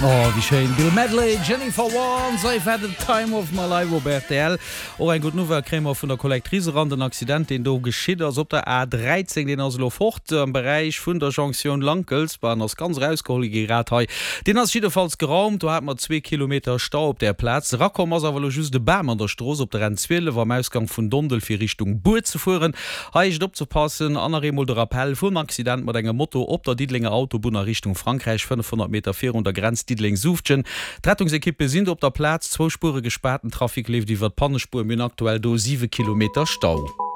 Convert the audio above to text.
Oh, wéi schéin! Bill Medley, Jennifer Warnes, I've had the time of my life op rtl. Och eng gutt Nouvelle kréie mer vun der Collectrice eran. Den Accident, deen do geschitt ass op der A 13, deen ass elo fort am Beräich vun der Jonktioun Lankels. Bah, en ass ganz erausgeholl gi grad hei. Deen ass jiddefalls geraumt. Do hate mer zwee Kilometer Stau op där Plaz. Erakomm ass awer elo just e Bam an der Strooss op der N 12 am Ausgang vun Dondel fir Richtung Bur ze fueren. Hei heescht et opzepassen an nach eemol de Rappell vum Accident mat engem Moto op der Diddelenger Autobunn a Richtung Frankräich, 500 Meter virun der Grenz Diddeleng-Suuftgen. D'Rettungsekippe sinn do op der Plaz, zwou Spuere gespaart, den Trafic leeft iwwer d'Pannespuer. Mir hunn aktuell do 7 Kilometer Stau.